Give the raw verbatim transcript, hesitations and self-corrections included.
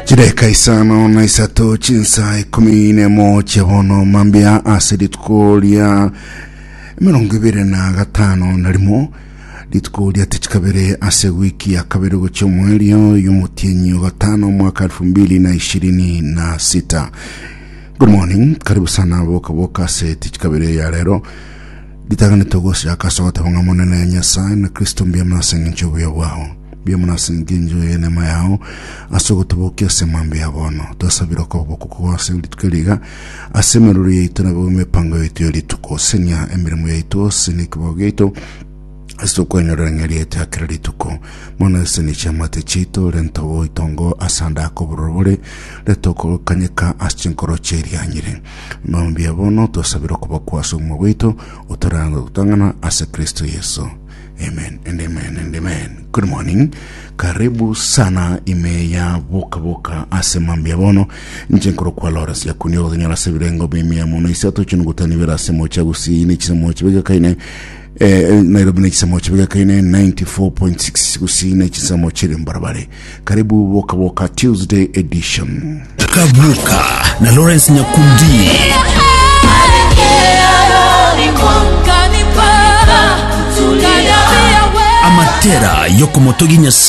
Chidakika isano na isato chinsa ikumi nemo chiabono mambia ase rituko ria emirongo ibere na gatano na rimo rituko ria tichikabere ase wiki ya kabere gochia omwerio y'omotienyi o gatano mwaka elfu mbili na ishirini na sita. Good morning, karibu sana boka boka ase tichikabere ya rero ritagane togosiaka ase ogoteba ng'a monene Nyasaye na Kristo mbuya mono ase eng'encho obuya bwao, mbuya mono ase eng'encho y'enema yao ase ogotobokia ase mambia ya bono. Twasabire okoboko kwao ase rituko eri iga ase emeroro yaito nabo emepango yaito ya rituko. Senia emeremo yaito, senia ekebao giaito ase tokwenyorera ng'a erieta ya kera rituko. Mono eseni chiamate chiaito, renta oboitongo ase ande ake obororo bore, reta okokanyeka ase chinkoro chi'erianyire. Mambia bono twasabire okoboko ase obogima bwaito, otoranga gotang'ana ase Kristo Yeso. Amen and amen and amen. Good morning. Karibu sana ime ya boka boka ase mambia bono nche nkoro kwa Lawrence Yakuni ogotonyora ase ebirengo bia mono isato chinugutani bera ase mocha gusii ne chisemo chibegekaine eh, Nairobi ne chisemo chibegekaine ninety-four point six gusii ne chisemo chiri mbarabare. Karibu boka boka Tuesday edition. Kabuka na Lawrence Nyakundi. Amatera yokomotogi Nyasaye.